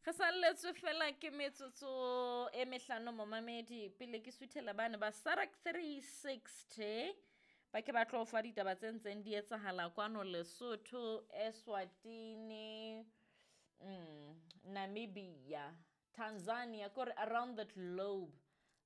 Re salletswe fela ke metsotso e mehlano momamedi pele ke suthela bane ba Sarak 360 ba ke ba tlo fa ditaba tse ntseng di etsahala kwano Lesotho, Eswatini, Namibia, Tanzania, kore around the globe,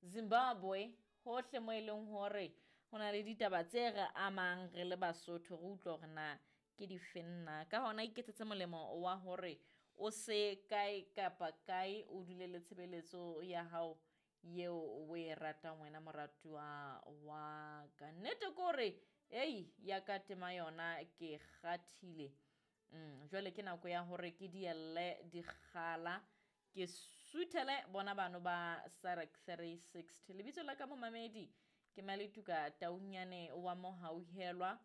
Zimbabwe, hohle mo e leng hore ho na le ditaba tse re amang re le Basotho re utlwe hore na ke dife nna. Ka hona iketsetse molemo wa hore o se kae kapa kae o dule le tshebeletso ya hao yeo o e ratang wena moratuwa wa ka. Nnete ke hore ei ya ka tema yona ke kgathile. Jwale ke nako ya hore ke dielle dikgala ke suthele bona bano ba Sarak 360. Lebitso la ka momamedi ke Maletuka Taunyane wa Mohauhelwa.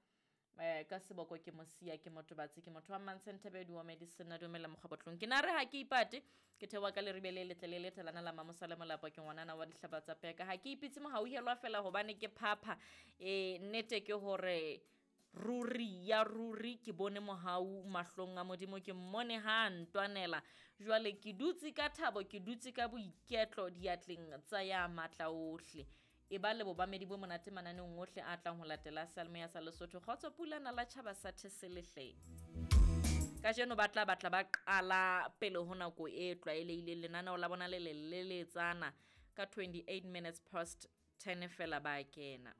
Ka seboko ke mosia ke motho batsi ke motho wa Mantshentebe di wa medicine dumela mokgabotlong ke na re ha ke ipate ke thewa ka leribe le letle le letelana la mamosa le molapo ke ngwanana wa dihlaba tsa peka ha ke ipitse mohauhelwa fela hobane ke phapha nnete ke hore ruri ya ruri ke bone mohau mahlong a Modimo ke mmone ha ntwanela jwale ke dutse ka thabo ke dutse ka boiketlo diatleng tsa ya matla ohle e ba le bobamedi bo monate mananeong ohle a tlang ho latela seyalemoya sa Lesotho kgotso pulana la tjhaba sa Theselehle kajeno ba tla batla ba qala pele ho nako e tlwaelehileng lenaneo la bona le leleletsana ka 28 minutes past 10 fela ba kena.